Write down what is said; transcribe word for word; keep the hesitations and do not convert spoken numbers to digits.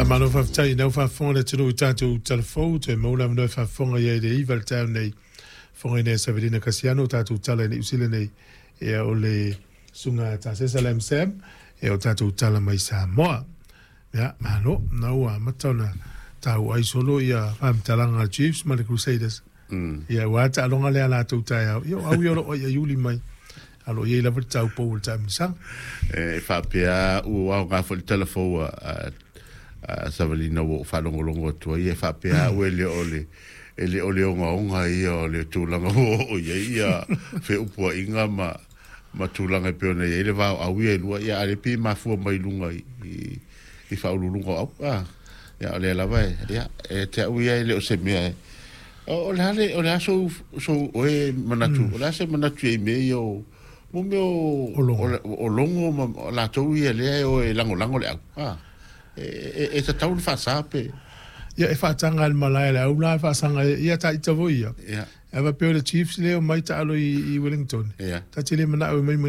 Faamalo faafetai i lau faafofoga le atunuu i tatou talafou, toe maua le avanoa e faafofoga i ai i le iva i le taeao nei. Fofoga i nei Savelina Kasiano, o tatou tala i Niu Sila nei, ia o le susuga Tasesa Lam Sam, ia o tatou tala mai Samoa. Ia, malo, na ua amata ona tau ai solo ia faamatalaga a Chiefs ma le Crusaders. Mm. Ia, ua taaloga lea latou taeao. Ia, o au ia o loo ai iuli mai. Alo i lava le tau pou o le taamilosaga. E faapea ua aoga foi le talafou a, a, a Savalina ua ou faalogologo atu ai, e faapea au e le o le e le o le ogaoga ia o le tulaga ua oo i ai ia feupuaiga ma ma tulaga e pei ona i ai le va o au ia e lua, ia a le pei e mafua mai luga i, i, i faauluuluga o au a ia o lea lava e ia e te au ia e le o se mea e o le ale o le aso so oe manatu o le a se manatu i mea ia o mo mea o o logo ma latou ia lea e o e lagolago le au a e e, e tatau le faasa pe Ia e faataga le malae le au la faasaga ia ta ita foi ia. Ia. Ava pe o le Chiefs lea o mai taalo i, i Wellington. Ia. Ta te le manao e mai mai